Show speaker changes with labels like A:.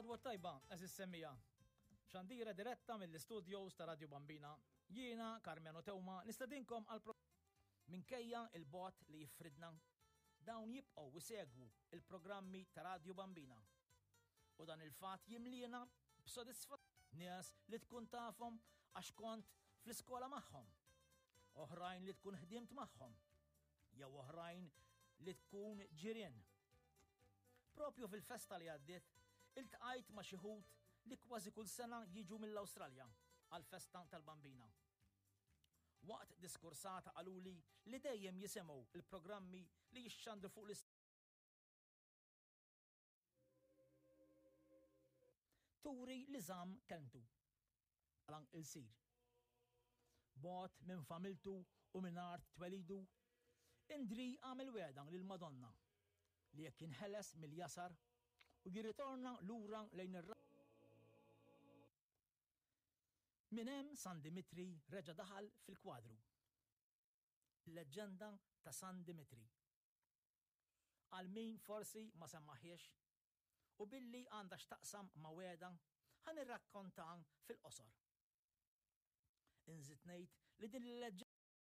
A: L-għodwa tajba, eżis semmija. Xandira diretta mill-studios ta' Radio Bambina. Jiena, Karmenu Teuma, nistedinkom għal pro Minkejja il-bot li jifridna, dawn jibqgħu isegwu il-programmi ta' Radio Bambina. U dan il-fatt jimliena b'sodisfa nies li tkun tafhom għax kont fl-iskola magħhom, oħrajn li tkun ħdimt magħhom, jew oħrajn li tkun ġirien. Propju fil-festa li għaddiet, iltqajt ma' xi ħut li kważi kull sena jiġu mill-Awstralja għall-festa tal-Bambina. Waqt diskursata qaluli li dejjem jisimgħu l-programmi li jixxandru fuq l Turi li żamm kelmtu. Bħala ilsir. Bogħod minn familtu u minn art twelidu, Indri għamel wegħda lill-Madonna li jekk jinħeles mill-jasar u jirritorna lura lejn ir Minn hemm San Dimitri reġa' daħal fil-kwadru. Il-leġġenda ta' San Dimitri. Għal min forsi ma semmagħhiex, u billi għandha x'taqsam ma' wegħda, ħa nirrakkontha fil-qosor. Inżid ngħid li din il-leġġenda.